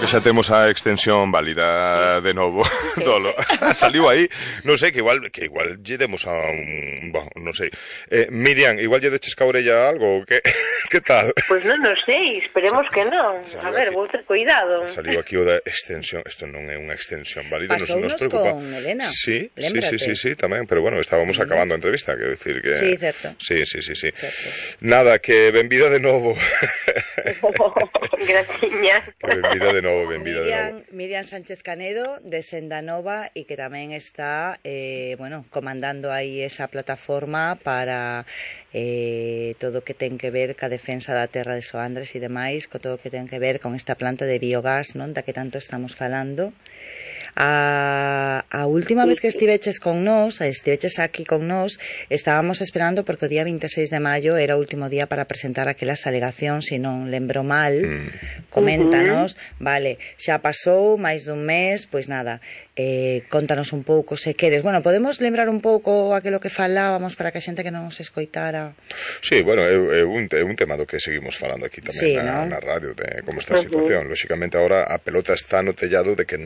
xa temos a extensión válida de novo. Sí, Dolo. sí. Saliu aí, non sei, que igual lle demos a un... Bueno, non sei. Miriam, igual lle deches ca orella algo, que que tal? Pois non sei, esperemos que non. A ver, vou ter cuidado. Saliu aquí o da extensión, isto non é unha extensión válida, Pasounos nos preocupa. con Elena, sí, lémbrate. sí, tamén, pero bueno, estábamos acabando a entrevista, quero dicir que... Sí, certo. Sí. Certo. Nada, que benvida de novo. Graciñas. Que benvida de novo. Miriam Sánchez Canedo, de Senda Nova, e que tamén está, comandando aí esa plataforma para todo o que ten que ver ca defensa da terra de Soandres e demais, co todo o que ten que ver con esta planta de biogás, non, da que tanto estamos falando. A última vez que estiveches aquí con nós, estábamos esperando porque o día 26 de maio era o último día para presentar aquelas alegacións, se non lembro mal. Coméntanos, vale, xa pasou máis dun mes, pois nada, contanos un pouco se queres. Bueno, podemos lembrar un pouco aquilo que falábamos para que a xente que non nos escoitara. Sí, bueno, é un tema do que seguimos falando aquí tamén, sí, na radio, de como está a situación. Lóxicamente agora a pelota está no tellado de que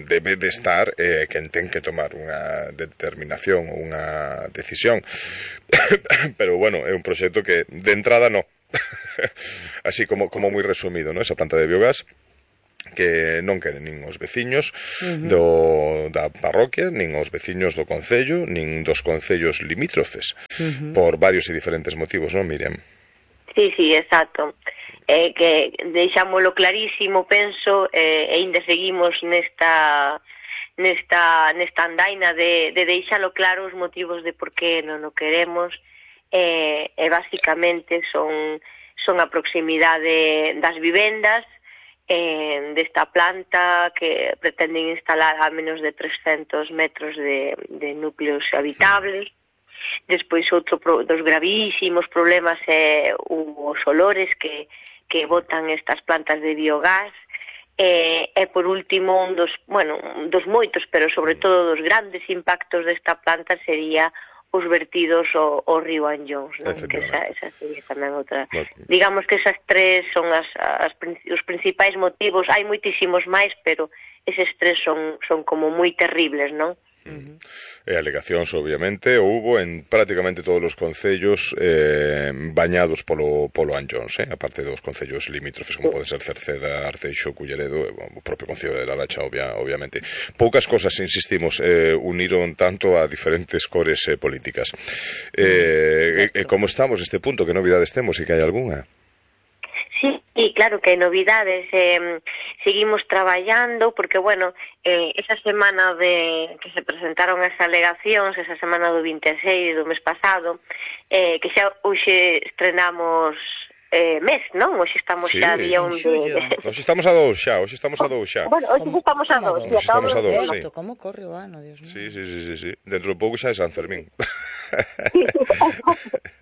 debe de estar quen ten que tomar unha determinación ou unha decisión. Pero bueno, é un proxecto que de entrada no. Así como moi resumido, ¿no? Esa planta de biogás que non queren nin os veciños da parroquia, nin os veciños do concello, nin dos concellos limítrofes, por varios e diferentes motivos, non, Miriam? Sí, exacto. Que deixámolo clarísimo, penso, e ainda seguimos nesta andaina de deixalo claro os motivos de por que non o queremos, e basicamente son a proximidade das vivendas desta planta que pretenden instalar a menos de 300 metros de núcleos habitables. Despois outro dos gravísimos problemas é os olores que botan estas plantas de biogás, e por último un dos moitos, pero sobre todo dos grandes impactos desta planta sería os vertidos ao río Anllóns, non? Que esa sería tamén outra. Digamos que esas tres son os principais motivos. Hai moitísimos máis, pero eses tres son como moi terribles, non? E alegacións, obviamente, houbo en prácticamente todos os concellos bañados polo Anllóns, aparte dos concellos limítrofes, como pode ser Cerceda, Arteixo, Culleredo, o propio concello de Laracha, obviamente. Poucas cosas, insistimos, uniron tanto a diferentes cores políticas. Como estamos neste punto, que novidades temos e que hai algunha? Sí, claro que hai novidades, seguimos traballando porque, esa semana que se presentaron as alegacións, esa semana do 26 do mes pasado, que xa hoxe estrenamos mes, non? Hoxe estamos xa día 1 de... Hoxe estamos a 2 xa. Bueno, hoxe estamos a 2. Hoxe estamos a 2, sí. Como corre o ano, Dios mío. Sí. Dentro de pouco xa é San Fermín.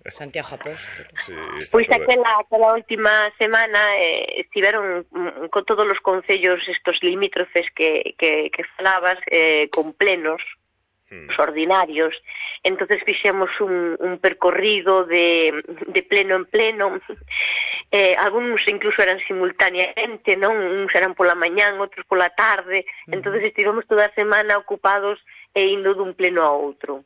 Santiago Apóstolo. Sí, pois aquela última semana estiveron con todos os concellos estos limítrofes que falabas, con plenos ordinarios. Entonces fixemos un percorrido de pleno en pleno. Algúns incluso eran simultaneamente, non? Uns eran pola mañán, outros pola tarde. Entonces estivemos toda a semana ocupados indo dun pleno a outro.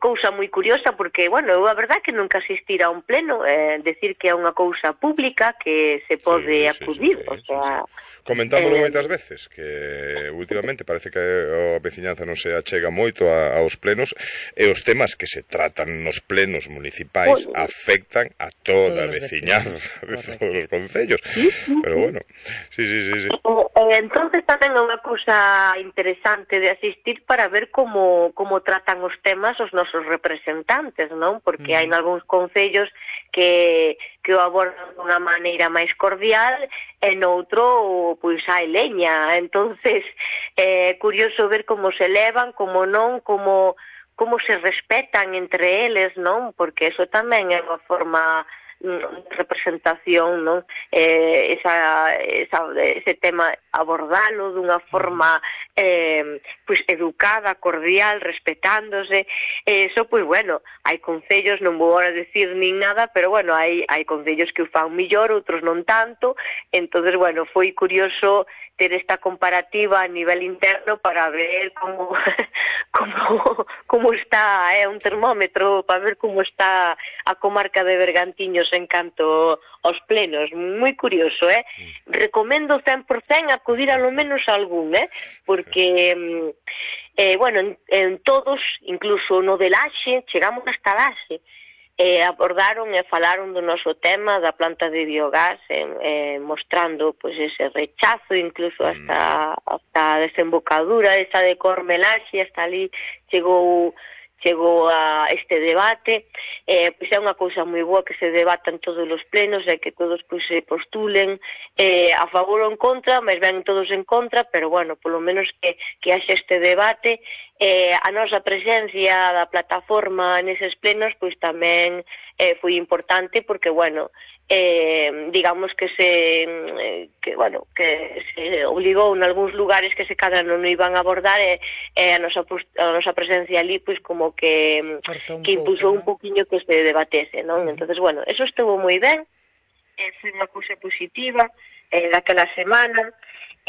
Cousa moi curiosa porque, eu a verdade que nunca asistira a un pleno, decir que é unha cousa pública que se pode acudir, o sea... Comentámoslo moitas veces, que últimamente parece que a veciñanza non se achega moito aos plenos, e os temas que se tratan nos plenos municipais afectan a toda a veciñanza de todos os concellos. Pero bueno, sí. Entonces tamén é unha cousa interesante de asistir para ver como tratan os temas os nosos representantes, non? Porque hai algúns concellos que o abordan dunha maneira máis cordial e noutro, pois, hai leña. Entonces, é curioso ver como se levan, como non, como se respetan entre eles, non? Porque eso tamén é unha forma representación, non? Ese tema abordalo dunha forma pois educada, cordial, respetándose. Eso, pois hai concellos, non vou agora decir nin nada, pero hai concellos que o fan millor, outros non tanto, Entonces, bueno, foi curioso ter esta comparativa a nivel interno para ver como está, un termómetro para ver como está a comarca de Bergantiños en canto aos plenos. Moi curioso, Recomendo 100% acudir a lo menos a algún, porque bueno, en todos, incluso no de Laxe, chegamos hasta Laxe, abordaron e falaron do noso tema da planta de biogás, mostrando pois ese rechazo, incluso hasta a desembocadura esa de Cormelaxe, hasta ali chegou a este debate. Pois é unha cousa moi boa que se debatan todos os plenos e que todos pois se postulen a favor ou en contra, mas ven todos en contra, pero bueno, polo menos que haxe este debate. A nosa presencia da plataforma neses plenos pois tamén foi importante porque, bueno, digamos que se obligou en algúns lugares que se cadra non iban a abordar e a nosa presencia ali pois como que impulsou un poquinho que se debatese, non? Entonces, bueno, eso estuvo moi ben, foi unha cousa positiva daquela semana.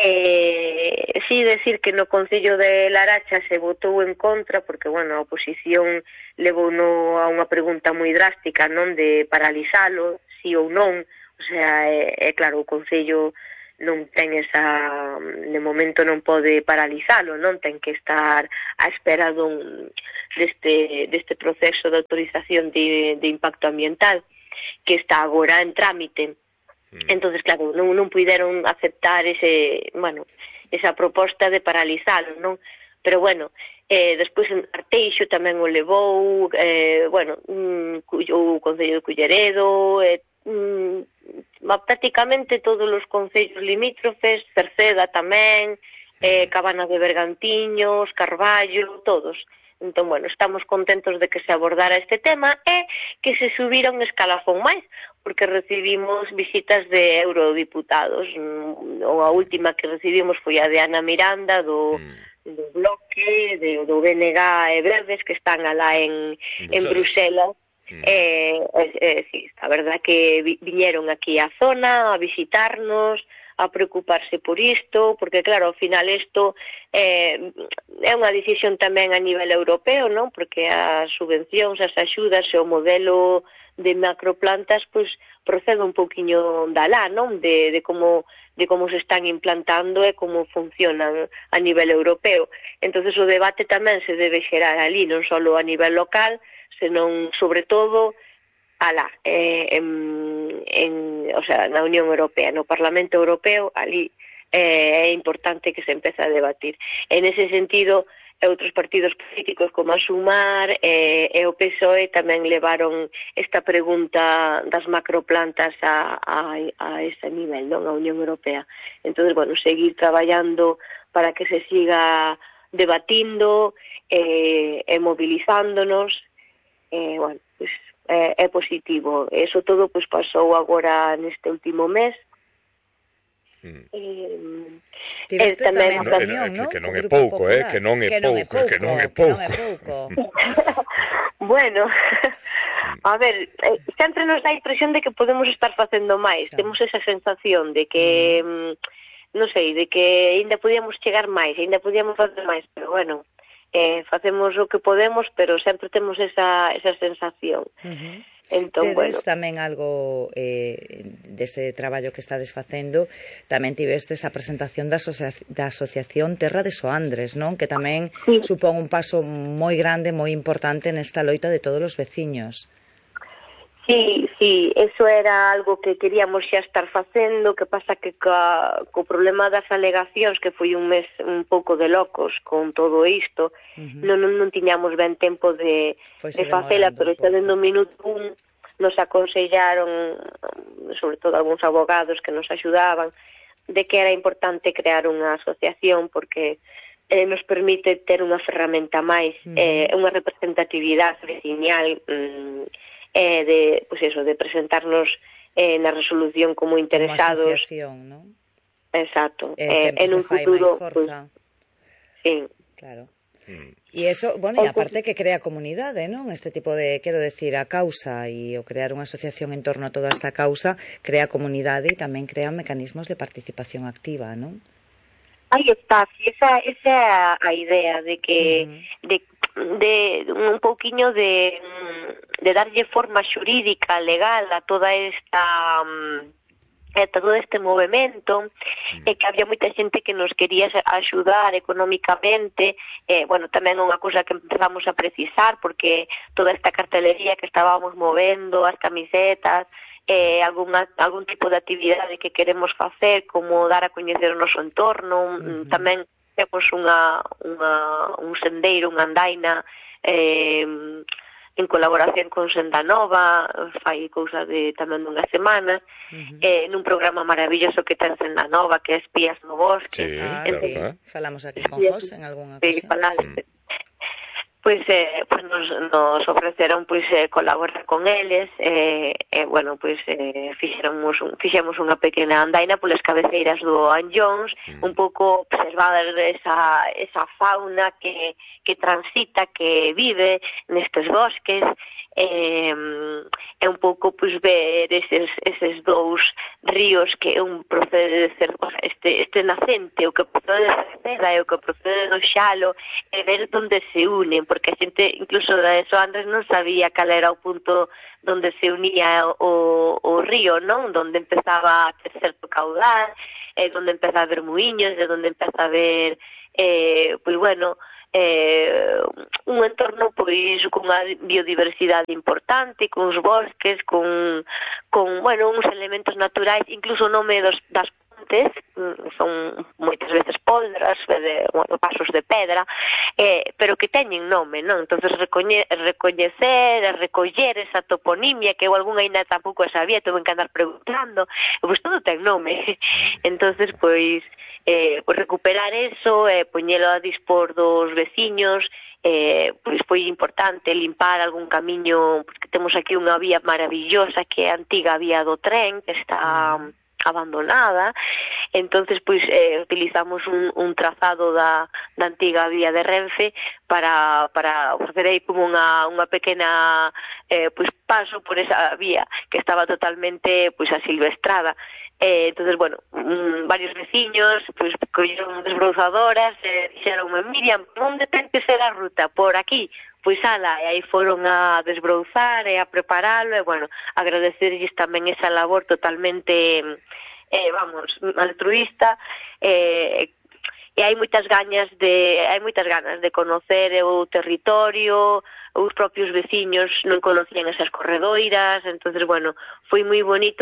Sí, decir que no Concello de Laracha se votou en contra porque, bueno, a oposición levou a unha pregunta moi drástica, non, de paralizalo, sí ou non. O sea, claro, o Concello non ten esa, de momento non pode paralizalo, non, ten que estar á espera deste proceso de autorización de impacto ambiental que está agora en trámite. Entonces, claro, non puideron aceptar esa proposta de paralizalo, non? Pero, bueno, despois en Arteixo tamén o levou, o Concello de Culleredo, prácticamente todos os concellos limítrofes, Cerceda tamén, Cabana de Bergantiños, Carballo, todos. Entón, bueno, estamos contentos de que se abordara este tema e que se subira un escalafón máis, porque recibimos visitas de eurodiputados. A última que recibimos foi a de Ana Miranda, do Bloque, do BNG e Verdes, que están alá en Bruselas. Sí, a verdad que viñeron aquí á zona a visitarnos, a preocuparse por isto, porque claro, ao final isto é unha decisión tamén a nivel europeo, non? Porque as subvencións, as axudas e o modelo de macroplantas pois procede un poquinho da lá, non? De como se están implantando e como funcionan a nivel europeo. Entonces o debate tamén se debe xerar ali, non só a nivel local, senón sobre todo alá, na Unión Europea, no Parlamento Europeo, ali é importante que se empece a debatir. En ese sentido, outros partidos políticos como a Sumar e o PSOE tamén levaron esta pregunta das macroplantas a ese nivel, non? A Unión Europea. Entón, bueno, seguir traballando para que se siga debatindo e movilizándonos, bueno, pues é positivo. Eso todo pues pasou agora neste último mes. Tivestes tamén a reunión, non? Que non é pouco, que non é pouco. Bueno, a ver, sempre nos dá a impresión de que podemos estar facendo máis. Temos esa sensación de que, non sei, de que ainda podíamos chegar máis, ainda podíamos facer máis, pero bueno, facemos o que podemos, pero sempre temos esa sensación. Entón, tedes tamén algo dese traballo que estades facendo, tamén tivestes a presentación da Asociación Terra de Soandres, non? Que tamén supón un paso moi grande, moi importante nesta loita de todos os veciños. Sí, eso era algo que queríamos xa estar facendo, que pasa que co problema das alegacións, que foi un mes un pouco de locos con todo isto, non tiñamos ben tempo de facela, pero xa dentro do minuto un nos aconsellaron, sobre todo algúns abogados que nos axudaban, de que era importante crear unha asociación porque nos permite ter unha ferramenta máis, unha representatividade veciñal, de, pues eso, de presentarnos na resolución como interesados. Como asociación, non? Exacto. En un futuro, pues, sí. Claro. E eso, bueno, e aparte que crea comunidade, non? Este tipo de, quero decir, a causa e o crear unha asociación en torno a toda esta causa crea comunidade e tamén crea mecanismos de participación activa, non? Aí está, esa é a idea de que de un pouquiño de darlle forma xurídica, legal a toda esta todo este movemento, que había moita xente que nos quería axudar económicamente, bueno, tamén unha cousa que empezamos a precisar, porque toda esta cartelería que estábamos movendo, as camisetas, algún tipo de actividade que queremos facer, como dar a coñecer o noso entorno, tamén temos un sendeiro, unha andaina, en colaboración con Senda Nova, fai cousa de tamén dunha semana, nun programa maravilloso que ten Senda Nova, que é Espías no Bosque. Sí, claro. Falamos aquí con José en algunha ocasión. Pois nos ofreceron colaborar con eles, bueno, fixemos unha pequena andaina polas cabeceiras do Anllóns, un pouco observar esa fauna que transita, que vive nestes bosques, é un pouco ver eses dous ríos que un procede de ser este nacente, o que procede de Cerceda e o que procede do Xalo, e ver onde se unen, porque a xente incluso de eso antes non sabía cal era o punto donde se unía o río, non? Donde empezaba a ter certo caudal, donde empeza a haber muiños, de donde empeza a haber un entorno con unha biodiversidade importante, con os bosques, con uns elementos naturais, incluso o nome das pontes son moitas veces poldras, pasos de pedra, pero que teñen nome, non? Entonces recoñecer e recoller esa toponimia que eu algunha ainda tampouco sabía, tuve que andar preguntando, pois todo ten nome. Entonces, recuperar eso, poñelo a dispor dos veciños, foi importante limpar algún camiño, porque temos aquí unha vía maravillosa que é a antiga vía do tren, que está abandonada. Entonces utilizamos un trazado da antiga vía de Renfe para facer aí como unha pequena paso por esa vía que estaba totalmente asilvestrada. Entonces, bueno, varios veciños colleron desbrouzadoras e dixeronme: Miriam, onde ten que ser a ruta? Por aquí. Pois ala, e aí foron a desbrouzar e a preparalo, e bueno, agradecerlles tamén esa labor totalmente altruista, e hai moitas ganas de conocer o territorio. Os propios veciños non conocían esas corredoiras, entonces, bueno, foi moi bonito